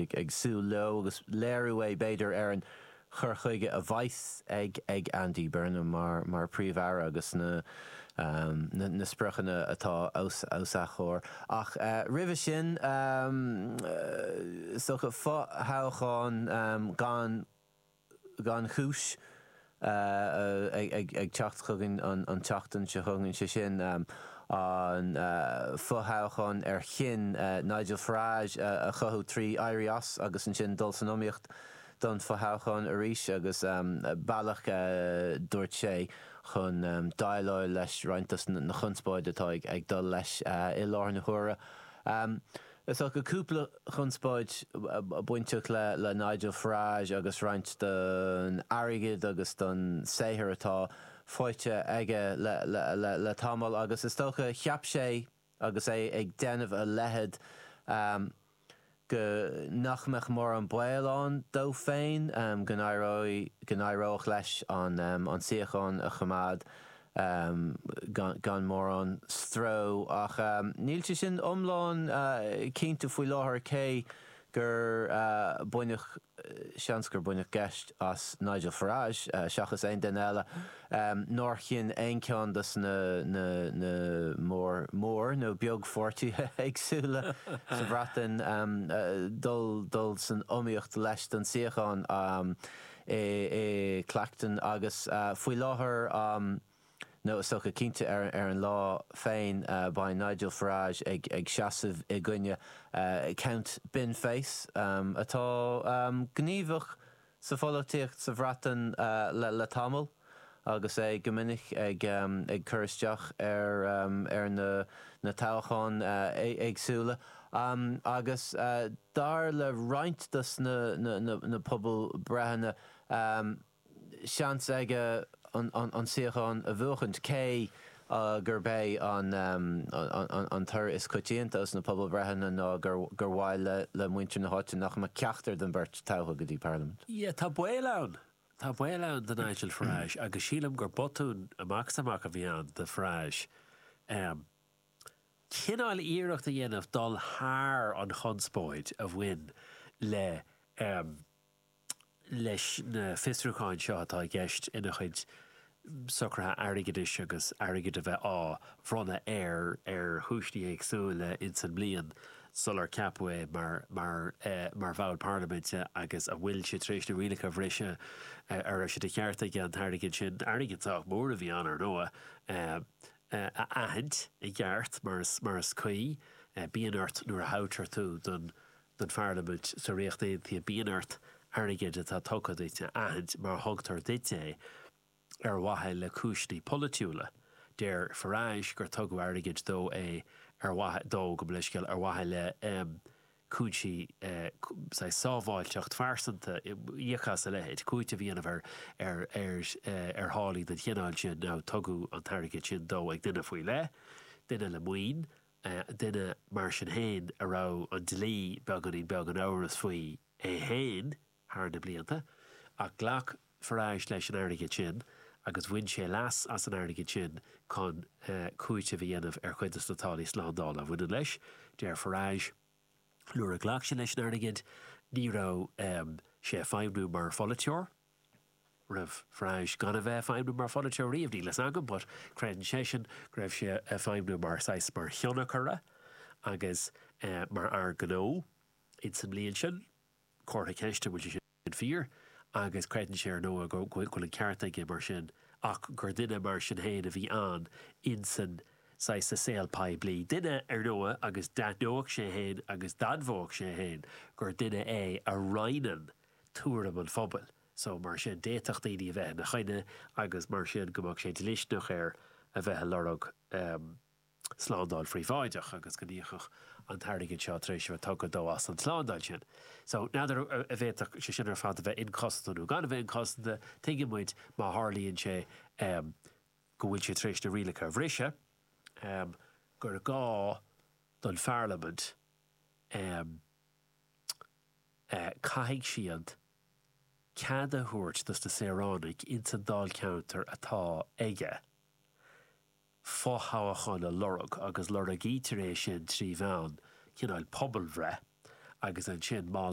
muid ag súil leo agus léiriú é b'fhéidir ar an chur chuige a bheas ag ag Andy Burnham mar mar Príomh-Aire agus na na spriocanna atá os os a chomhair. Ach roimhe sin, is dócha fo-thoghchán gan gan chúis ag teacht chugainn an tseachtain seo chugainn, sé sin an fo-thoghchán ar chinn Nigel Farage a chothú trí éirí as agus ansin dul san iomaíocht don fho-thoghchán arís agus bealach, dúirt sé, chun déileáil leis roinnt dos na conspóid atá ag dul leis i láthair na huaire. Is dócha cúpla conspóid bainteach le Nigel Farage agus roinnt den airgead agus den saothar atá faighte aige le tamall agus is dócha cheap sé agus é ag déanamh a leithéid go nach mbeadh mórán baol ann dó féin go n-éireodh leis an suíochán a choimeád. gan mórán stró. Ach níl sé sin iomlán cinnte faoi láthair cé gur baineadh, seans gur baineadh geit as Nigel Farage seachas aon duine eile, nár chinn aon cheann de na mór, mór nó beagpháirtithe éagsúla sa Bhreatain dul dul san iomaíocht leis don suíochán. i Clacton agus faoi láthair, nó is dócha cinnte ar an lá féin, beidh Nigel Farage ag seasamh i gcoinne Count Binface, atá gníomhach sa pholaitíocht sa Bhreatain le tamall agus é go minic ag cur isteach ar na toghcháin éagsúla agus. Dar le roinnt dos na pobalbhreitheanna, seans aige an suíochán a bhuachaint, cé gurb é an toradh is coitianta os na pobalbhreitheanna ná gur mhaith le muintir na háite nach mbeadh ceachtar den bheirt toghtha go dtí Parlaimint. Yeah, tá baol ann. Tá baol ann do Nigel Farage agus sílim gur botún amach is amach a bhí ann do Farage. Cineál iarracht a dhéanamh dul thar an chonspóid a bhain le leis na fiosrúcháin seo atá i gceist ina chuid socruithe airgeadais agus airgead a bheith á bhronnadh air ar chúiseanna éagsúla ins an mbliain sular ceapadh é mar mar mar bhall parlaiminte agus an bhfuil sé tar éis na rialacha a bhriseadh, an raibh sé de cheart aige an t-airgead sin, airgead sách mór a bhí ann ar ndóigh, a aithint i gceart mar is mar is cuí. Bíonn ort nuair a thoghtar tú don don Pharlaimint sa Ríocht Aontaithe, bíonn ort airgead atá tugtha duit a aithint mar thugtar duit é ar mhaithe le cúiseanna polaitiúla. Deir Farage gur tugadh airgead dó é ar mhaithe, dó, gabh mo leithscéal, ar mhaithe le cúinsí saghas sábháilteacht phearsanta, íoc as a leithéid, cúiteamh a dhéanamh ar ar ar tháillí den chineál sin. Now tugadh an t-airgead sin dó ag duine faoi leith, duine le maoin, duine mar sin féin a raibh an dlí beagáinín beag in amhras faoi é féin. thar na blianta, ach ghlac Farage leis an airgead sin agus bhain sé leas as an airgead sin chun cúiteamh a dhéanamh ar chuid de na táillí slándála a bhaineann leis. Deir Farage, nuair a ghlac sé leis an airgead, ní raibh sé ag feidhmniú mar pholaiteoir. Raibh Farage gan a bheith ag feidhmniú mar pholaiteoir riamh, níl fhios agam, but creideann seisean go raibh sé ag feidhmniú mar saghas mar thionchaire agus mar fhear gnó ins an mbliain sin. Comhartha ceiste an bhfuil sé sin fíor, agus creideann sé ar ndóigh go bhfuil an ceart aige mar sin, ach gur duine mar sin féin a bhí ann insan saghas sa saol poiblí. Duine, ar ndóigh, agus d'aithneodh sé féin agus d'admhódh sé féin gur duine é a roinneann tuairim an phobail. So, mar sin, d'fhéadfadh daoine a bheith ina choinne agus mar sin go mbeadh sé dlisteanach air a bheith ag lorg. slándáil phríobháideach agus go n-íocfadh an t-airgead seo tar éis a bheith tugtha dó as an tslándáil sin. So, n'fheadar an bhféadfadh sé sin ar fad a bheith inchosanta nó gan a bheith inchosanta, tuigeann muid má tharlaíonn sé go bhfuil sé tar éis na rialacha a bhriseadh, gur gá don Pharlaimint, caithfidh siad cead a thabhairt dos na saoránaigh ins an dáilcheantar atá aige. fo-thoghchán a lorg agus lorgaítear é sin trí mheán cineáil pobalbhreith agus ansin má.